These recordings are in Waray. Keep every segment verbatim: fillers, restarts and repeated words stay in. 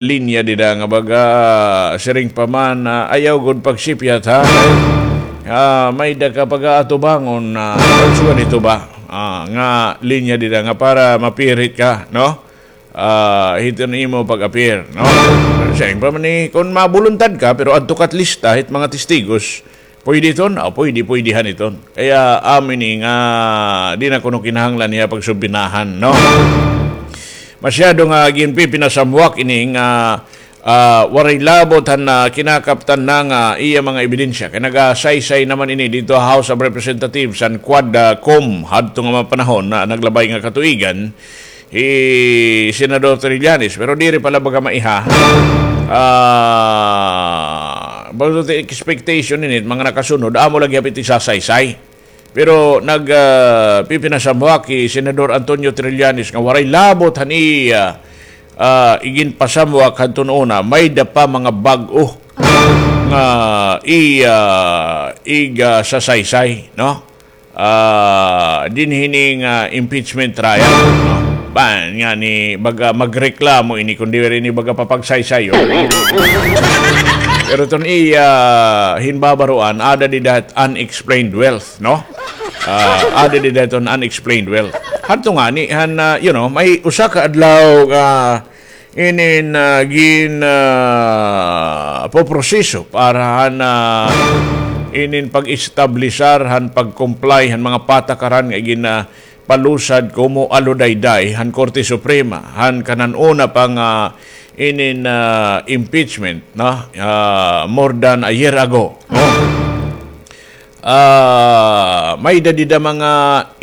linya dida nga baga, siring pa man, ah, ayaw gud pagsipyat, ha? Kay, ah, may-ada ka pag-aatubangon na, sugad ito ba? Ah, nga linya dida nga para mapirit ka, no? Ah, hiton imo pag-appear, no? Siring pa man ni, kon mabuluntad ka, pero adto ka't lista, hit mga testigos, pwede iton? Ah, pwede, pwede han iton. Kaya, amo ini nga, di na kuno kinahanglan niya pagsubinahan, no? Masyado nga ginpipinasamwak ini nga, ah, waray labot han, ah, kinakaptan na nga iya mga ebidensya. Kay nagasaysay naman ini didto ha House of Representatives, han Quad, ah, Com, hadto nga mga panahon na naglabay nga katuigan, hi Senador Trillanes, pero diri pa la baga maiha. Ah, baga expectation ini, mga nakasunod, amo la gihap it isasaysay. Pero nag, ah, pipinasamwak hi Senador Antonio Trillanes nga waray labot han iya, ah, iginpasamwak hadton una, may-ada pa mga bag-o nga iya, ah, igasasaysay, no? Ah, dinhi hini nga impeachment trial, no? Ba, ngani, baga magreklamo ini kon diri ini baga papagsaysay, oh. Pero iton iya, ah, ginbabaroan, ada dida it unexplained wealth, no? Ah, ada dida iton unexplained wealth. Hadto ngani, han, ah, you know, may usa ka adlaw nga inin, ah, gin, ah, poproseso para han, ah, inin pag-establisar han pag-comply han mga patakaran nga ginapalusad komo aludayday han Korte Suprema, han kanan una pa nga inin, ah, impeachment, no? Ah, more than a year ago, no? Ah, may-ada dida mga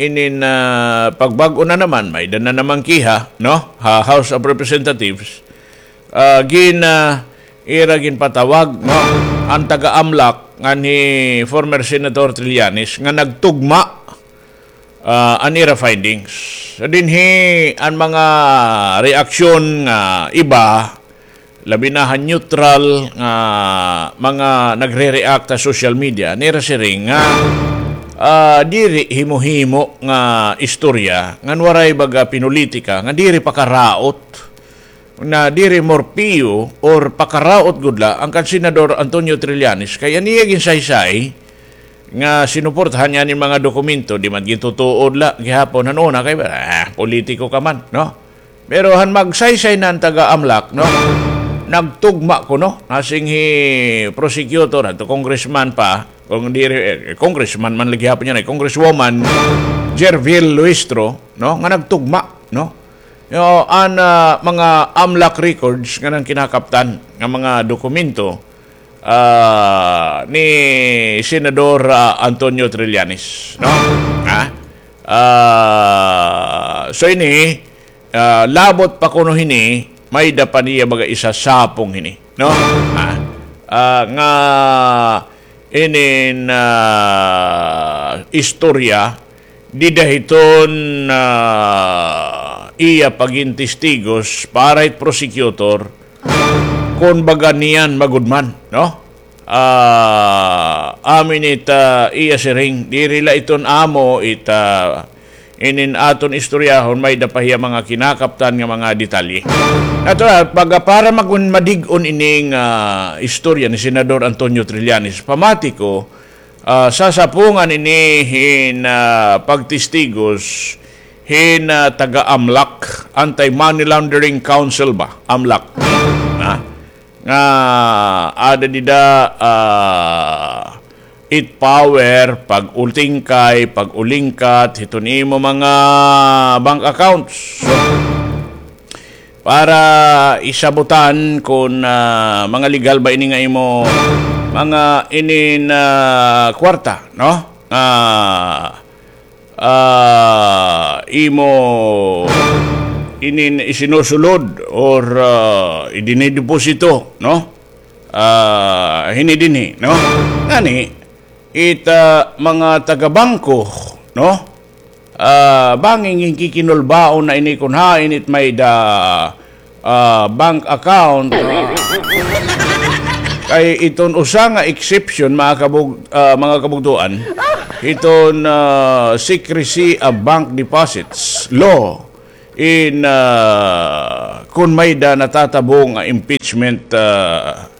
inin, ah, pagbag-o na naman, may-ada na naman kiha, no? Ha House of Representatives. Ah, gin, ah, ira ginpatawag, no? An taga-AMLAC ngan hi former Senator Trillanes nga nagtugma, ah, an ira findings. So, dinhi an mga reaksyon nga iba, labi na han neutral nga mga nagre-react ha social media, nira siring nga, ah, diri himo-himo nga istorya, ngan waray baga pinulitika, nga diri pakaraot, na diri more piyo or pakaraot gud la an kan Senador Antonio Trillanes, kay an iya ginsaysay nga sinuportahan niya an mga dokumento, di man gintutuod la gihapon han una kay, ah, politiko ka man, no? Pero han magsaysay na an taga-AMLAC, no? Nagtugma kuno, nasiring hi prosecutor, adto congressman pa, kon diri, eh, congressman man la gihapon yana, eh, Congresswoman Gerville Luistro, no? Nga nagtugma, no? Yo, an, ah, mga AMLAC records nga ngan kinakaptan nga mga dokumento, ah, ni Senador, ah, Antonio Trillanes, no? Ha? Ah, so ini, ah, labot pa kuno hini, may-ada pa niya baga isasapong hini, no? Ha? Ah, nga inin, ah, istorya, dida hiton, ah, iya pagin testigos para hit prosecutor, kon baga niyan magudman, no? Ah, amo ini it, ah, iya siring, diri la iton amo it, ah, inin aton istoryahon, may-ada pa hiya mga kinakaptan nga mga detalye. Natural, baga para magun-, madig-on ining, ah, istorya ni Senador Antonio Trillanes, pamati ko, ah, sasapungan ini hin, ah, pagtestigos hin, ah, taga-AMLAC, Anti-Money Laundering Council ba? AMLAC. Ha? Nga ada dida, ah, it power, pag-utingkay, pag-ulingkat hiton imo mga bank accounts. So, para isabutan kon, ah, mga legal ba ini nga imo mga inin, ah, kwarta, no? Ah, ah, imo inin isinusulod or, ah, idinideposito, no? Ah, hini dinhi, no? Ngani, it, ah, mga taga-bangko, no? Ah, bangin ginkikinulbaon na ini kon hain it may-ada, ah, bank account. Kay iton usa nga exception, mga kabug-, ah, mga kabugtoan, iton, ah, Secrecy of Bank Deposits Law, in, ah, kon may-ada natatabo nga impeachment, ah,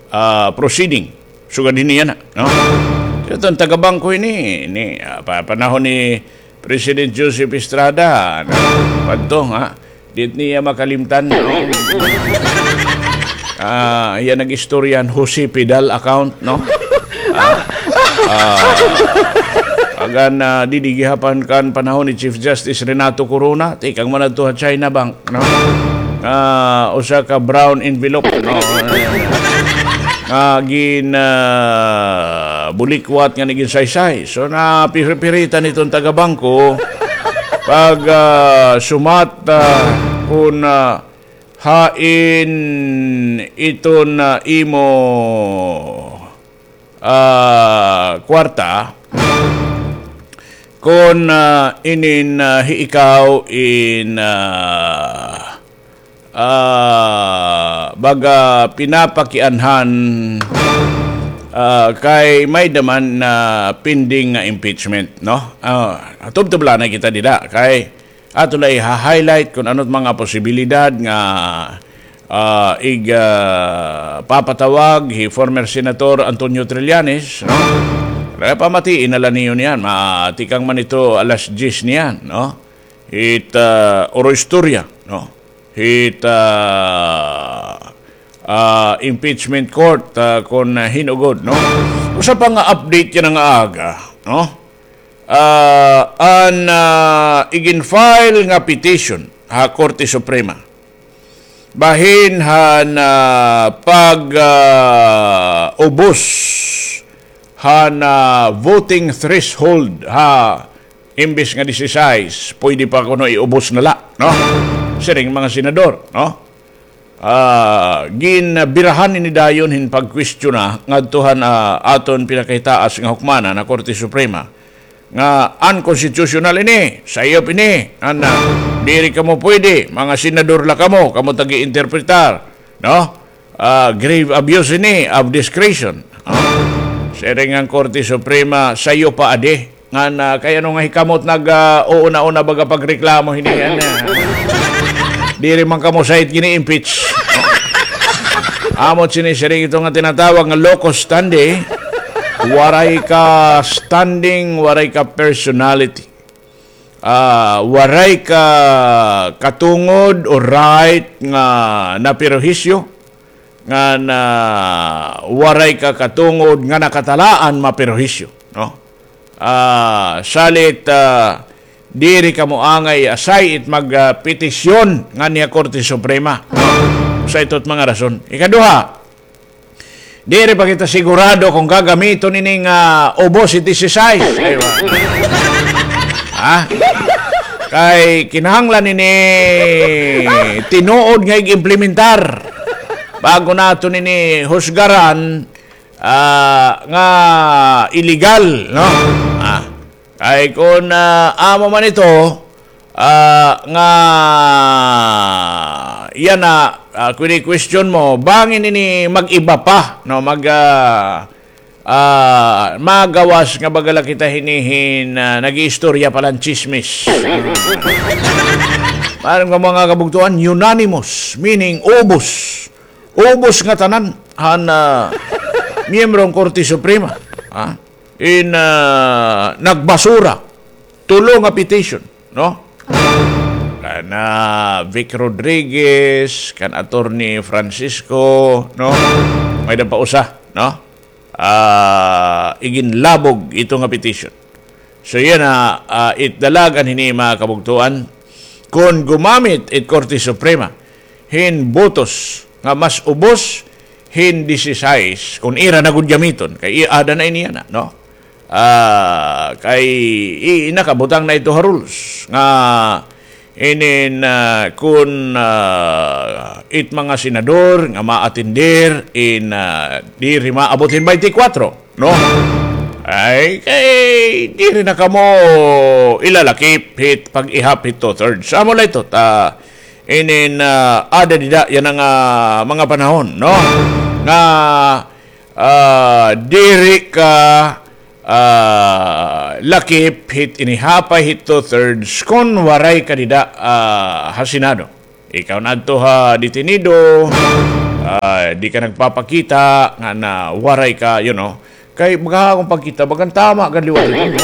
ah, proceeding. Sugad hini yana, no? So, iton taga-bangko ini, ni, ah, pa-, panahon ni President Joseph Estrada, no? Padto, ha? Di niya makalimtan. Ah, iya nag-istorya han Jose Fidel account, no? Ah, ah, agan, ah, didi gihap han kan panahon ni Chief Justice Renato Corona, tikang man adto ha China Bank, no? Ah, usa ka brown envelope, no? Nga gin, ah, bulikwat nga nagin-saysay. So, napiripiritan iton taga-bangko pag, ah, sumat, ah, kun, ah, hain iton, ah, imo, ah, kwarta, kun, ah, inin, ah, hi ikaw in, ah, ah, baga pinapakianhan, ah, kay may-ada man na pending nga impeachment, no? Ah, tubtob la anay kita dida, kay ato la iha-highlight kun ano it mga posibilidad nga, ah, ig-, ah, papatawag hi former Senator Antonio Trillanes, no? Kaya pamatii na la niyo niyan, matikang man ito alas diyes niyan, no? Hit, ah, oro istorya, no? Hit, ah, ah, impeachment court, ah, kun, ah, hin-o gud, no? Usa pa nga update yana nga aga, no? Ah, an, ah, igin-file nga petition ha Korte Suprema bahin han, ah, pag, ah, ubos han, ah, voting threshold ha imbes nga disisais, pwede pa kuno iubos na la, no? Siring mga senador, no? Ah, ginbirahan ini dayon hin pagkwestiona ngadto han, ah, aton pinakahitaas nga hukmanan, an Korte Suprema, nga unconstitutional ini, sayop ini, an, ah, diri kamo pwede, mga senador la kamo, kamo tagi-interpretar, no? Ah, grave abuse ini of discretion. Ah, siring an Korte Suprema, sayop pa adi. Ngan, ah, kay ano nga hikamot nag, ah, uuna-una baga pagreklamo hini, ano? Diri man kamo sait gini-impeach. Amo it sinisiring ito nga tinatawag nga locus standi. Waray ka standing, waray ka personality. Ah, waray ka katungod o right nga naperhisyo. Ngan, ah, waray ka katungod nga nakatalaan maperhisyo, no? Ah, salit, ah, diri kamo angay asay it mag, ah, petisyon nganhi ha Korte Suprema, no? Sa ito it mga rason. Ikaduha, diri pa kita sigurado kon gagamiton ini nga ubos it disisais. Ay, wa. Ha? Kay kinahanglan ini tinuod nga ig-implementar. Bago naton ini husgaran, ah, nga illegal, no? Ah, kay kon, ah, amo man ito, ah, nga yana, ah, kini-question mo, bangin ini mag-iba pa, no? Mag, ah, ah, magawas nga baga la kita hini hin, ah, nag-iistorya pa la hin tsismis. Maaram nga mga kabugtoan, unanimous, meaning ubos. Ubos nga tanan han, ah, miyembro han Korte Suprema, ha? In, ah, nagbasura. Tulo nga petition, no? Kan, ah, Vic Rodriguez, kan Attorney Francisco, no? May-ada pa usa, no? Ah, iginlabog ito nga petition. So, yana, ah, it dalagan hini, mga kabugtoan, kon gumamit it Korte Suprema hin botos nga mas ubos hin disisais, kon ira na gud gamiton, kay i-, aada na ini yana, no? Ah, kay i-, nakabutang na ito ha rules nga inin, ah, kon, ah, it mga senador nga maatender in, ah, diri maabot hin baynte kwatro, no? Ay, kay diri na kamo ilalakip hit pag-ihap hit two-thirds. Amo la ito, ta, inin, ah, aada dida yana nga mga panahon, no? Nga, ah, diri ka ah, lakip hit inihapay hit two-thirds kon waray ka dida, ah, ha Senado. Ikaw na adto ha detenido, ah, di ka nagpapakita nga na waray ka, you know. Kay baga akon pagkita, bagan tama gad liwat ito.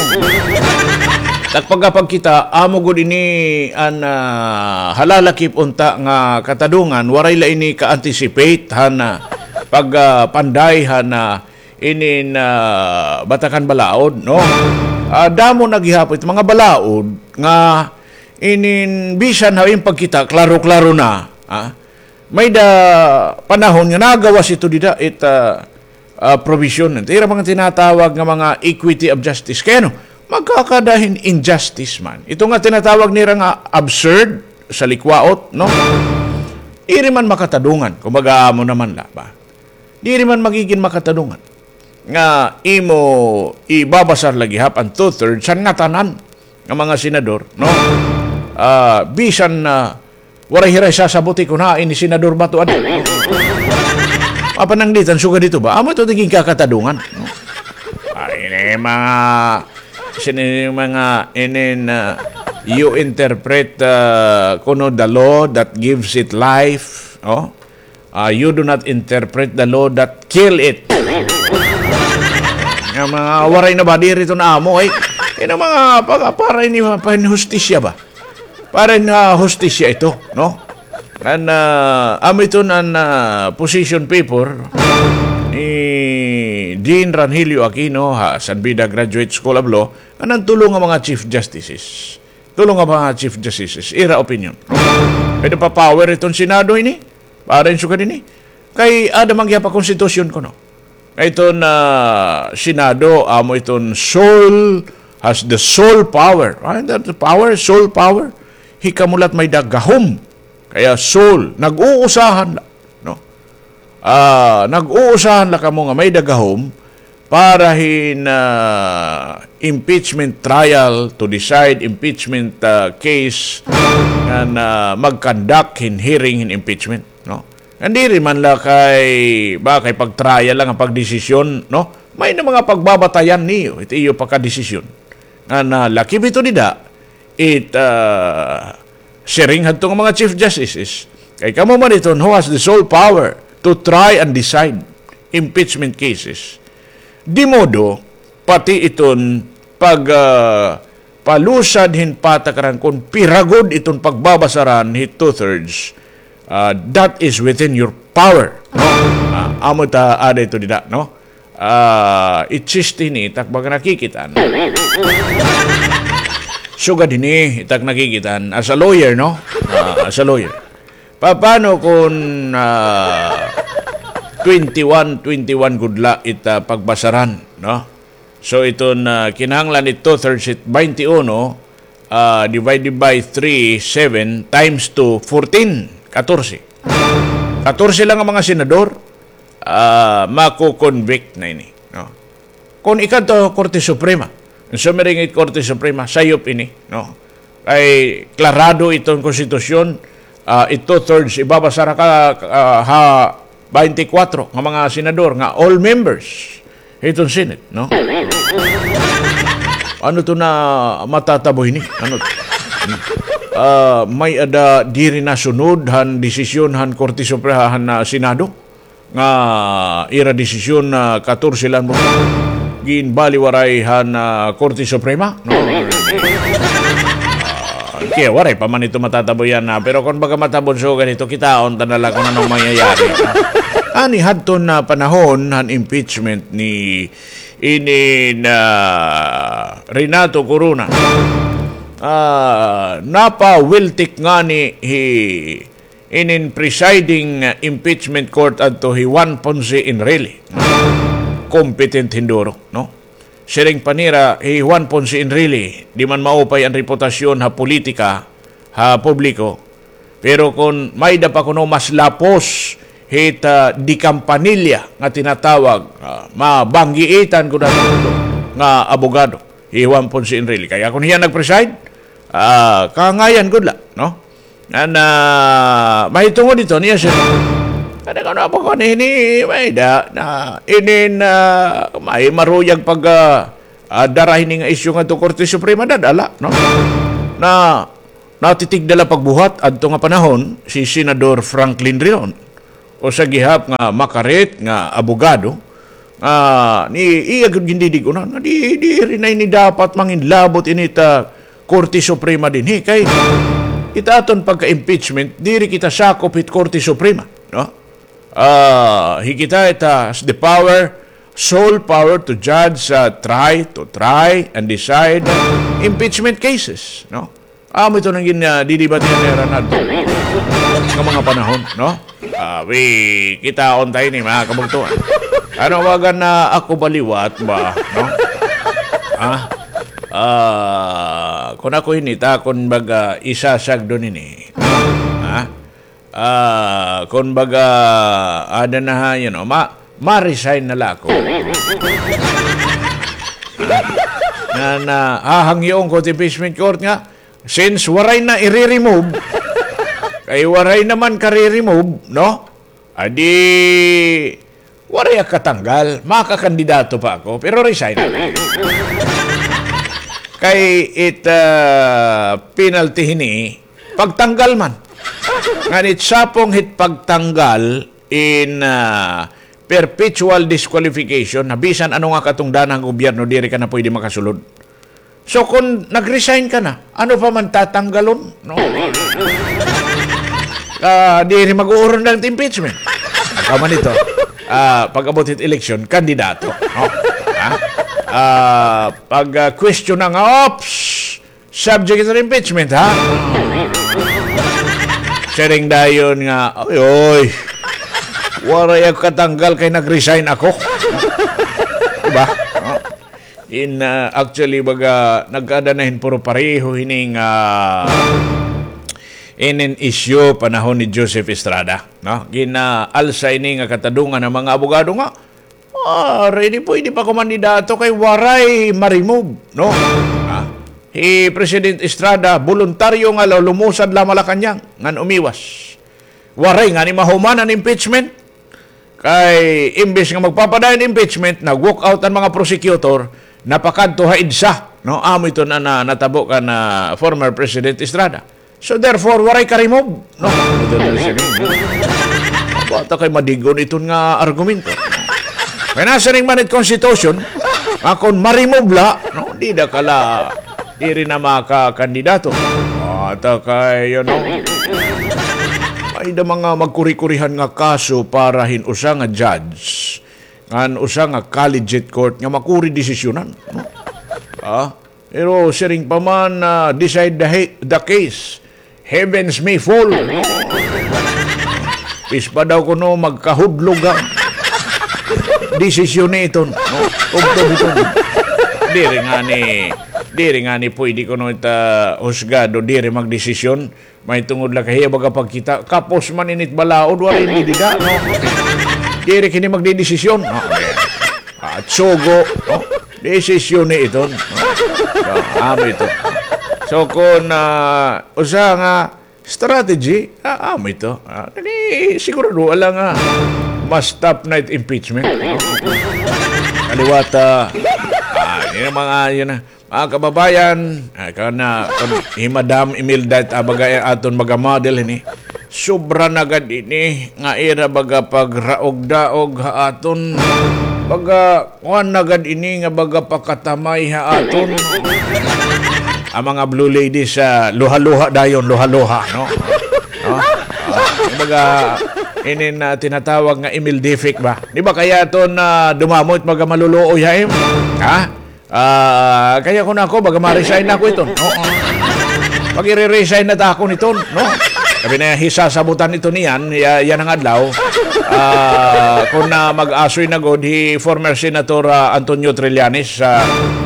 Tak pagkapagkita, amo gud ini an, ah, halalakip unta nga katadungan, waray la ini ka-anticipate han, ah, pag, ah, panday han, ah, inin, ah, Batakan Balaod, no? Ah, damo na gihapon it mga balaod nga inin bisan ha iyang pagkita, klaro-klaro na, ah. May-ada panahon nga nagawas ito dida it, ah, ah, provision. Ito ira mga tinatawag nga mga equity of justice. Kay ano, magkakada hin injustice man. Ito nga tinatawag nira nga absurd sa likwaot, no? Iri man makatadungan, kumbaga amo naman la ba? Diri man magigin makatadungan nga imo ibabasar la gihap an two-thirds han ngatanan nga mga senador, no? Ah, bisan na waray hira sasabuti kon hain ni Senador Bato adi. Mapananglitan sugad ito ba? Amo ito naging kakatadungan, no? Ah, ini mga, sini mga, inin, ah, you interpret, ah, kuno the law that gives it life, no? Ah, you do not interpret the law that kill it. Nga mga waray na ba, diri ito na amo, eh. Ina mga pag-, para ini, para ini hustisya ba? Para ini, ah, hustisya ito, no? An, ah, amo ito an, ah, position paper ni Dean Rangelio Aquino ha San Beda Graduate School of Law, an tulo nga mga Chief Justices. Tulo nga mga Chief Justices, ira opinion. Pwede pa power iton Senado ini? Para in sugad ini? Kay ada man gihap ha konstitusyon kuno. Nga iton, ah, Senado, amo iton sole, has the sole power. Ah, the power, sole power. Hikamo la it may-ada gahom. Kaya sole, nag-uusahan la, no? Ah, nag-uusahan la kamo nga may-ada gahom para hin, ah, impeachment trial, to decide impeachment, ah, case, ngan, ah, mag-conduct hin hearing hin impeachment, no? Ngan diri man la kay, ba, kay pag-trial la nga pagdesisyon, no? May-ada mga pagbabatayan niyo, it iyo pakadesisyon. Ngan, ah, lakip ito dida, it, ah, siring hadto nga mga Chief Justices, kay kamo man iton who has the sole power to try and decide impeachment cases. Di modo, pati iton pag, ah, palusad hin patakaran kon pira gud iton pagbabasaran hit two-thirds, ah, that is within your power, no? Ah, amo ta ada ito dida, no? Ah, it sixty ini, it ak baga nakikit-an. Sugad hini, it ak nakikit-an, as a lawyer, no? Ah, as a lawyer. Paano kon, ah, twenty-one, twenty-one gud la it, ah, pagbasaran, no? So, iton, ah, kinahanglan it two-thirds it twenty-one, ah, divided by three, seven times two, fourteen, katorse. Katorse lang an mga senador, ah, mako-convict na ini, no? Kon ikadto Korte Suprema, sumiring it Korte Suprema, sayop ini, no? Kay klarado iton konstitusyon, ah, it two-thirds ibabasar ka, ah, ha twenty-four nga mga senador nga all members hiton Senate, no? Ano to na matatabo hini? Ano to? Ah, may-ada diri nasunod han desisyon han Korte Suprema han, ah, Senado nga ira desisyon na katorse lang mo ginbaliwaray han, ah, Korte Suprema, no? Ah, kaya waray pa man ito matatabo yana, pero kon baga matabon so ganito, kitaon ta na la kon ano an mangyayari. Ani hadton, ah, panahon han impeachment ni ini na Renato Corona, ah, napawiltik ngani hi inin presiding, ah, impeachment court adto hi Juan Ponce Enrile. Competent hin duro, no? Siring pa nira hi Juan Ponce Enrile, di man maupay an reputasyon ha politika, ha publiko. Pero kon may-ada pa kuno mas lapos hit, ah, de Campanilla nga tinatawag, ah, mabanggiitan ko na nga abogado, hi Juan Ponce Enrile. Kaya kon hiya nag-preside, ah, kangayan gud la, no? Ngan, ah, mahitungod ito niya siya. Kada kano pa ko ni, ni, may-ada na, inin, ah, may maruyag pag, ah, ah, dara hini nga isyu ngadto Korte Suprema, dad-a la, no? Na, natitigda la pagbuhat adto nga panahon si Senador Franklin Drilon. Usa gihap nga makarit nga abogado, ah, ni iya gud gindidig-unan nga di, diri na ini dapat manginlabot ini ta Korte Suprema dinhi kay it aton pagka-impeachment, diri kita sakop hit Korte Suprema, no? Ah, hi kita, it has the power, sole power to judge, ah, try, to try and decide impeachment cases, no? Amo ito nga gin-, ah, didibatihan nira ngadto nga mga panahon, no? Ah, wi, kitaon ta ini, mga kabugtoan. Ano, baga na ako ba liwat ba, no? Ha? Ah, kun ako ini, ta, kun baga isasagdon ini. Ha? Ah, kun baga, ada na ha, you know, ma-, ma-resign na la ako. Na, na, hahangyoon ko it impeachment court nga, since waray na ire-remove, kay waray naman kare-remove, no? Adi, waray ak katanggal, makakandidato pa ako, pero resign. Kay it, ah, penalty hini, pagtanggal man. Ngan it sapong hit pagtanggal in, ah, perpetual disqualification, na bisan ano nga katungdanan han gobyerno, diri ka na pwede makasulod. So, kun nag-resign ka na, ano pa man tatanggalon? No? Ah, diri mag-uurundan it impeachment. Kaman ito, ah, pag-abot hit eleksyon, kandidato. No? Ha? Ah, pag, ah, question na nga, ops, subject to impeachment, ha? Siring dayon nga, oy, oy, waray ak katanggal kay nag-resign ako. Diba? No? In, ah, actually, baga, nagkada na hin puro pareho hini nga, ah, inin issue panahon ni Joseph Estrada, no? Gin-alsa ini nga katadungan han mga abogado nga, ah, ready, pwede pa kumandidato kay waray ma-remove, no? Ah, hi President Estrada, boluntaryo nga la-, lumusad la Malacañang, ngan umiwas. Waray ngani mahuman an impeachment. Kay imbes nga magpapadayon impeachment, nag-walk out an mga prosecutor, napakadto ha EDSA, no? Amo ito na, na natabo kan former President Estrada. So therefore, waray ka-remove, no? Ito na siya, no? Bata kay madig-on iton nga argumento. Kay nasiring man it Constitution, nga kon ma-remove la, no? Dida ka la, diri na makakandidato. Bata kay, you know, may-ada mga magkuri-kurihan nga kaso para hin usa nga judge ngan usa nga collegiate court nga makuri desisyonan, no? Ah, pero siring pa man, ah, decide the he-, the case, heavens may fall. Pis pa daw kuno magkahudlog an desisyon ni iton, no? Tubtob iton. Diri ngani, diri ngani pwede kuno it husgado, diri magdesisyon. Mahitungod la kay hiya baga pagkita, kapos man ini it balaod, waray ini dida, no? Diri kini magdedesisyon, no? At sugo, no? Desisyon ni iton, no? So, amo ito. So, kun, ah, usa nga strategy, ah, amo ito. Ah, kani sigurado la nga ma-stop na it impeachment, no? Kaliwat, ah, ah, ini mga, yun na. Mga kababayan, ah, kana, kun hi Madam Imelda it, ah, baga, eh, aton baga model ini. Sobra na gad ini nga ira baga pagraog-daog ha aton. Baga kuan na gad ini nga baga pakatamay ha aton. An mga blue ladies, ah, luha-luha dayon, luha-luha, no? No? Ah, baga, ini na tinatawag nga Imeldific ba? Di ba kay aton, ah, dumamo it mga maluluoy ha im-, ha? Ah, kaya kun ako, baga ma-resign na ako iton. Oo. Mag-ire-resign na ta ako niton, no? Sabi na, hisasabutan ito niyan, ya-, yana nga adlaw. Ah, kun, ah, mag-asoy na gud hi former Senator, ah, Antonio Trillanes, ah,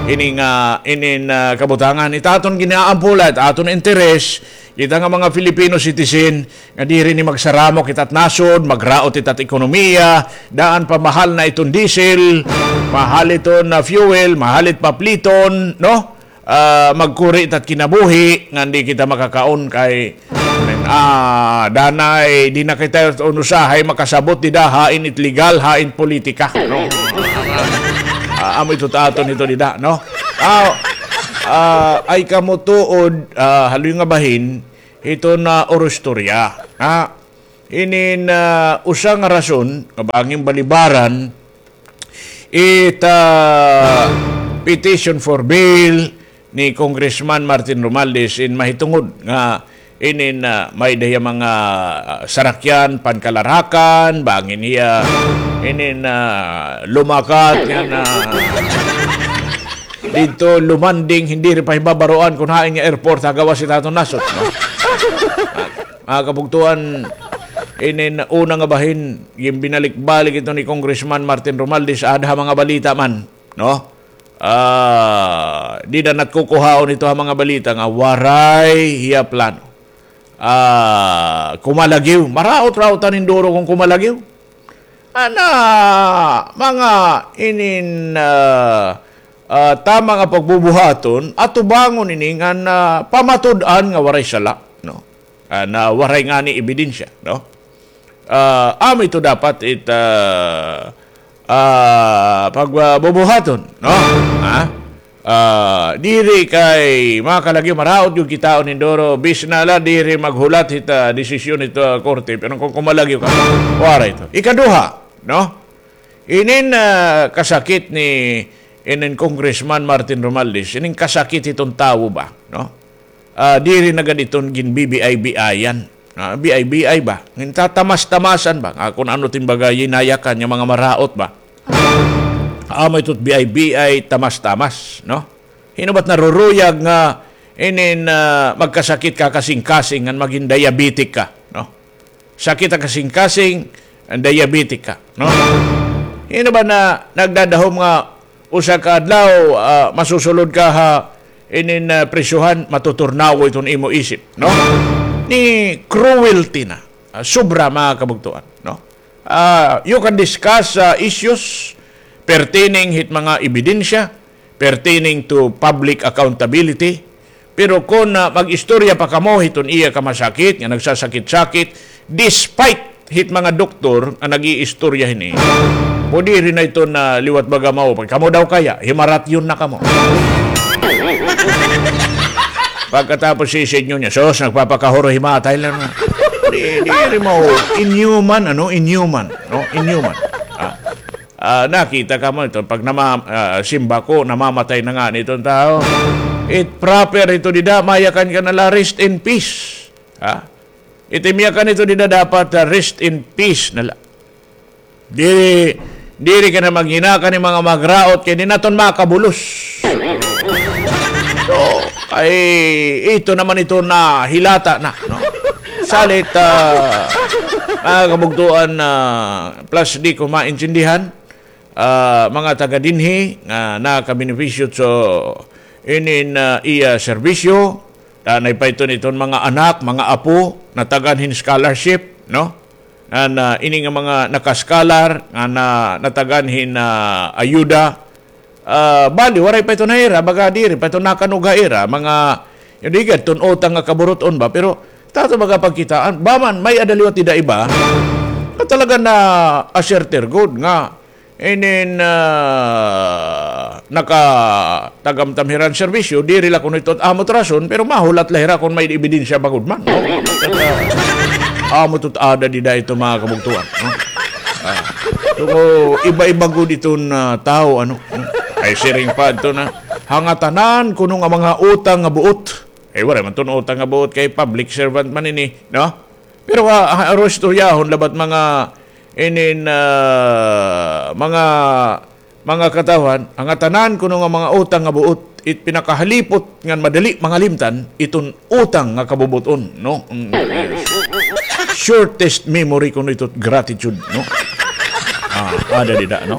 ini nga, inin, ah, kabutangan. It aton gin-aampo la, it aton interes, kita nga mga Filipino citizen, nga diri ni magsaramok it at nasod, magraot it at ekonomiya, daan pa mahal na iton diesel, mahal iton, ah, fuel, mahal it papliton, no? Ah, magkuri it at kinabuhi, nga di kita makakaon kay, ah, danay, di na kita unusahay makasabot dida, hain it legal, hain politika, no? Ah, amo ito ta aton ito dida, no? Ah, ah, ay kamo tuod, ah, haloy nga bahin, hiton, ah, oro istorya. Ha? Inin, ah, usa nga rason nga bangin balibaran it, ah, petition for bail ni Congressman Martin Romualdez in mahitungod nga inin, ah, may-ada hiya mga, ah, sarakyan, pankalarakan, bangin hiya inin, ah, lumakat nga na didto lumanding, hindi rin pa hibabaroan kun hain nga airport ha gawas hit aton nasod, no? Ah, mga kabugtoan, inin una nga bahin, ginbinalik-balik ito ni Congressman Martin Romualdez, aada ha mga balita man, no? Ah, dida nat kukuhaon ito ha mga balita nga waray hiya plano. Ah, kumalagyo. Maraot-raot an hinduro kon kumalagyo. Ana, mga inin, ah, ah, tama nga pagbubuhaton, atubangon ini ngan, ah, pamatud-an nga waray sala, no? Ah, na waray ngani ebidensya, no? Ah, amo ito dapat it, ah, ah, pagbubuhaton, no? Ha? Ah, diri kay mga kalagyo, maraot gyud kitaon hinduro, bisan na la diri maghulat hit, ah, desisyon hit, ah, korte, pero kon kumalagyo ka, waray ito. Ikaduha, no? Inin, ah, kasakit ni inin Congressman Martin Romualdez, inin kasakit hiton tawo ba, no? Ah, diri na gad iton ginbibiay-biayan. Ah, biay-biay ba? Ngintatamas-tamasan ba? Ah, kun ano it im baga yinayakan nga mga maraot ba? Amo ito it biay-biay, tamas-tamas, no? Hin-o ba it naruruyag nga inin, ah, magkasakit ka kasingkasing ngan magin diabetic ka, no? Sakit ha kasingkasing, diabetic ka, no? Hin-o ba na nagdadahom nga usa ka adlaw, ah, masusulod ka ha inin, ah, prisohan, matuturnawo iton imo isip, no? Ni cruelty na, ah, sobra, mga kabugtoan, no? Ah, you can discuss, ah, issues pertaining hit mga ebidensya, pertaining to public accountability. Pero kon, ah, mag-istorya pa kamo hiton iya kamasakit, nga nagsasakit-sakit, despite hit mga doktor nga nag-iistorya hini, pwede rin na ito na liwat baga mao. Pag kamo daw kaya, himaratyon na kamo. Pagkatapos si inyo niya, "Sus, nagpapakahuro, himatay la na." Di, di rin mao. Inhuman, ano? Inhuman. No? Inhuman. Ah. Ah, nakita kamo ito, pag nama-, ah, simba ko, namamatay na ngani iton tawo. It proper ito dida, mayakan ka na la, "Rest in peace." Ha? It im yakan ito dida dapat, ah, "Rest in peace" na la. Diri, diri ka na maghinakan hin mga magraot kay di naton makabulos. So, ay, ito naman ito na hilata na, no? Salit, ah, mga kabugtoan, ah, plus di ko maintindihan, ah, mga taga dinhi nga nakabenepisyo so inin, ah, iya serbisyo, danay pa iton iton mga anak, mga apo, natagan hin scholarship, no? An, ah, ini nga mga naka-scholar nga na, natagan hin, ah, ayuda, ah, bali, waray pa ito na ira, baga diri pa ito nakanog ha ira, mga, di gad iton utang nga kaburut-on ba, pero tato baga pagkitaan, ba man, may-ada liwat dida iba, nga talaga na asserter gud nga, inin, ah, nakatagamtam hira hin serbisyo, diri la kuno ito amo it rason, pero mahulat la hira kon may ebidensya bangud man, no? Amo ito ada dida ito, mga kabugtoan, no? Ah, so, iba-iba gud iton, ah, tawo, ano, no? Ay, siring pa ito na, hangatanan kuno nga mga utang nga buot. Ay, waray man iton utang nga buot kay public servant man ini, no? Pero, ah, ha, aro istoryahon la ba it mga inin, ah, mga, mga katawhan, hangatanan kuno nga mga utang nga buot, it pinakahalipot ngan madali mangalimtan, iton utang nga kabubut-on, no? Mm, yes. Shortest memory kuno ito it gratitude, no? Ah, ada dida, no?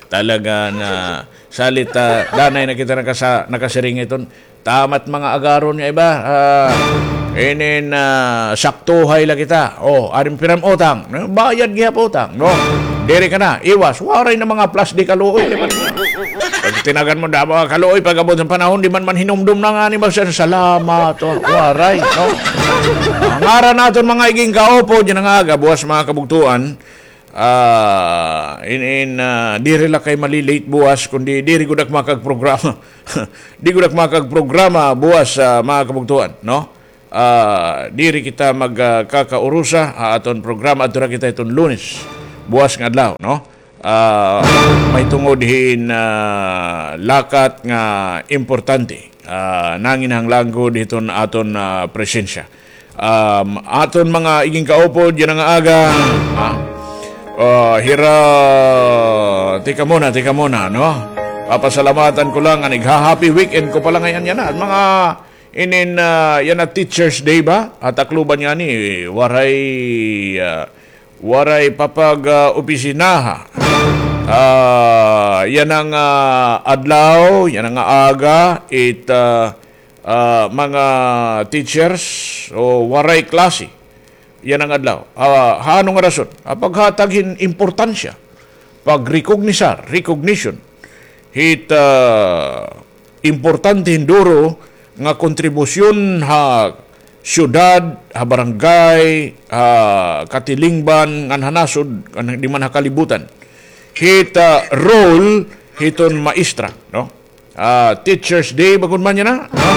Talaga na salit, ah, danay na kita nakasa-, nakasiring iton. Tama it mga agaron nga iba, ah, inin, ah, saktuhay la kita. O, adi man pira im utang. Bayad gihap utang, no? Diri ka na, iwas. Waray na mga plastic kaluoy. Pag tinagan mo, damo nga kaluoy, pag-abot hin panahon, di man man hinumdom na ngani, magsasalamat, o, waray, no? Ngaran naton mga iging kaupod, yana nga aga, buwas mga kabugtoan, ah, in, in, ah, diri la kay mali-late buwas, kundi diri gud ak makagprograma. Di gud ak makagprograma buwas, ah, mga kabugtoan, no? Ah, diri kita mag, ah, kakaurusa, ah, aton programa, adto na kita hiton Lunes. Buwas nga adlaw, no? Ah, mahitungod hin, ah, lakat nga importante. Ah, nanginahanglan gud hiton aton, ah, presensya. Um, aton mga iging kaupod yana nga aga, ha? Ah, hira, tika muna, tika muna, no? Papasalamatan ko lang, an igha-happy weekend ko pala ngay-an yana. An mga inin, ah, yana Teachers Day ba? At Tacloban ngani, waray, ah, waray papag, ah, opisinaha. Ah, yana nga, ah, adlaw, yana nga, ah, aga, it, ah, ah, mga teachers o waray klase. Yana nga adlaw. Ah, ha ano nga rason? Ah, paghatag hin importansya, pagrekognisar, recognition. Hit, ah, importante hin duro nga kontribusyon ha syudad, ha barangay, ha katilingban, ngan ha nasod, ngan di man ha kalibutan. Hit, ah, role hiton maestra, no? Ah, Teachers Day, ba gud man yana, no?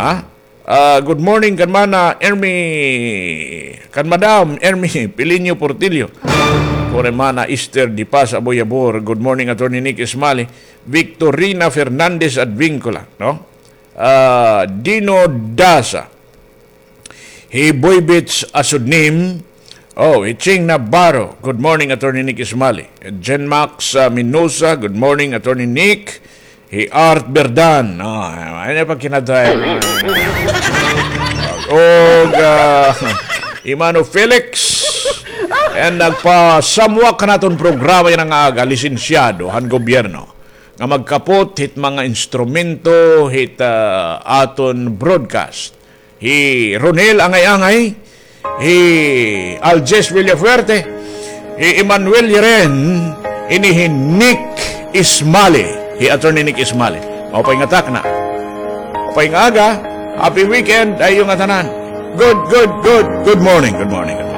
Ha? Ah, good morning kan Mana Ermi, kan Madam Ermi Pilinio Portillo. Kore Mana Esther Di Paz Aboyabor. Good morning, Attorney Nick Ismali. Victorina Fernandez Advincula, no? Ah, Dino Daza. Hi Boy Beach Asudnim. Oh, hi Ching Navarro. Good morning, Attorney Nick Ismali. Jen Max, ah, Minosa. Good morning, Attorney Nick. Hi Art Berdan. Oh, ano pa kinatay? Og, ah, Imano Felix. And nagpasamwak kan aton programa yana nga aga, lisensyado han gobyerno nga magkapot hit mga instrumento hit, ah, aton broadcast. Hi Ronel Angay-Angay, hi Aljes Villafuerte, hi Emmanuel Yeren, ini hi Nick Ismali, hi Attorney Nick Ismali. Maupay nga takna. Maupay nga aga, happy weekend ha iyo ngatanan. Good, good, good, good morning, good morning.